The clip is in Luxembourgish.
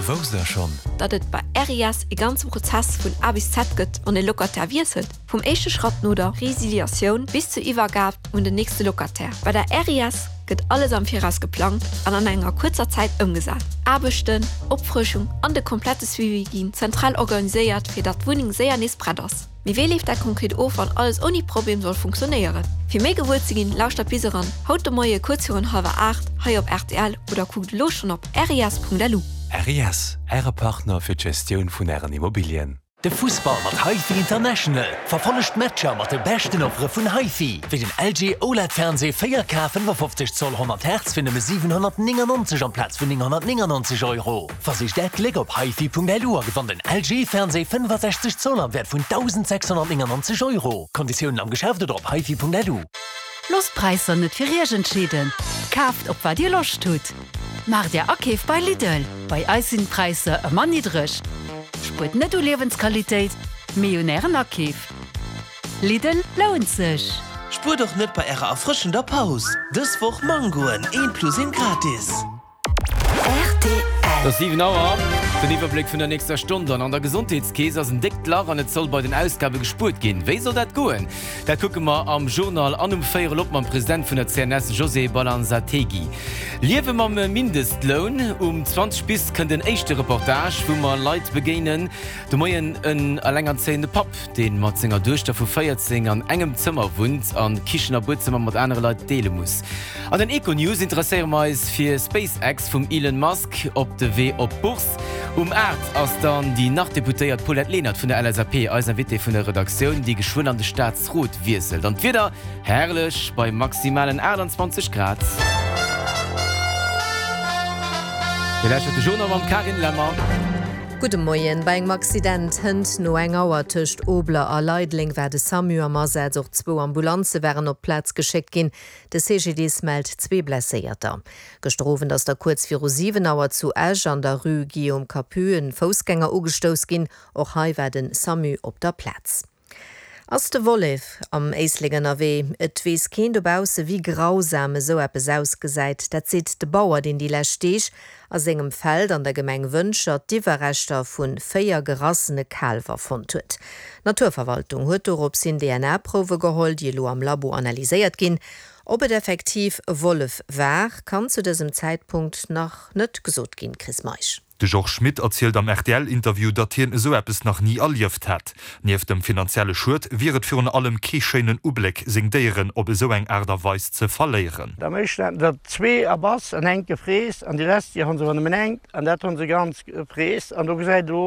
Wousst der schonn? Datt et bei RIS e ganze Prozess vun A bis Z gëtt, wann e Locataire wiesselt? Vum éischte Schratt no der Resiliatioun bis zur Iwwergab un den nächste Locataire. Bei der RIS gëtt alles am Viraus geplangt an an enger kuerzer Zäit ëmgesat. Aarbechten, Opfrëschung an de komplette Suivi ginn zentral organiséiert, fir datt d'Wunneng séier nees prett ass. Mee wéi leeft dat konkret of, wann alles ouni Problem soll funktionéieren? Fir méi gewuer ze ginn, lauschtert bis eran haut de Moie kuerz virun hallwer 8 hei op rtl oder kuckt elo schonn op ris.lu. RIS, Äre Partner fir d'Gestioun vun Ären Immobilien. De Fussball mat HiFi International. Verfollegt d'Matcher mat de beschten Offere vun HiFi, wéi den LG OLED Fernsee 4K 55 Zoll 100 Hertz fir nëmme 799 amplaz vun 999 Euro. Versicht Äert Gléck op hifi.lu a gewannt en LG Fernsee 65 Zoll am Wäert vun 1.699 Euro. Konditiounen am Geschäft oder op hifi.lu. Loosst d'Präisser net fir Iech entscheeden, kaaft op wat Dir Loscht hutt. Maacht Är Akeef bei Lidl, bei eis sinn d'Präisser ëmmer niddreg. Spuert net u Liewensqualitéit, mee un Ären Akeef. Lidl lount sech! Spuert och net bei ärer erfrëschender Paus! Dës Woch Mangoen, eent plus eent gratis! Rtl. Et ass 7 Auer. Den Iwwerbléck vun der nächster Stonn dann. An der Gesondheetskeess ass en déckt Lach an et soll bei den Ausgabe gespuert ginn. Wéi soll dat goen? Dat kucke mer am Journal an um Véierel op mam President vun der CNS José Balanzategui. Liewe mam Mindestloun, Um 20 bis kënnt en éischte Reportage, wou mer Leit begéinen. De Moien en elengerzéiende Papp, dee mat senger Duechter vu 14 an engem Zëmmer wunnt an Kichen a Buedzëmmer mat anere Leit deele muss. An den Econews interesséiere mer eis fir SpaceX vum Elon Musk op de Wee op d'Bourse. Um 8 ass dann déi nach Deputéiert Paulette Lenert vun der LSAP eis Invitée vun der Redaktioun, déi geschwënn an de Staatsrot wiesselt. An d'Wieder? Herrlech bei maximalen 28 Grad. Dir lauschtert de Journal mam Carine Lemmer. Gudde Moien. Bei engem Accident hënt no eng Auer tëscht Obler a Leideleng war de Samu am Asaz. Och zwou Ambulanze waren op d'Plaz geschéckt ginn. De CGDIS mellt zwee Blesséierter. Gëschter Owend ass da kuerz viru 7 Auer zu Esch an der Rue Guillaume Capus en Foussgänger ugestouss ginn. Och hei war de Samu op der Plaz. Ass de Wollef am Éislek ënnerwee? Et weess keen dobausse wéi grausam esou eppes ausgesäit. Dat seet de Bauer, deen déi lescht Deeg a sengem Feld an der Gemeng Wëntger d'Iwwerreschter vu 4 gerassene Kaalwer fonnt huet. D'Naturverwaltung huet dorops hin DNA-Prouwe geholl, déi elo am Labo analyséiert ginn. Ob et effektiv e Wollef war, kann zu dësem Zäitpunkt nach net gesot ginn. Chris Meisch. De Georges Schmit erzielt am RTL-Interview, datt hien esou eppes nach ni erlieft hätt. Nieft dem finanzielle Schued wier et virun allem kee schéinen Ubléck, seng Déieren op esou eng Aart a Weis ze verléieren. Am éischten haten der zwee erbass an enk gefreess an déi lescht déi hu se awer nëmmen enk an dat hu se ganz gefreess an do gesäit elo.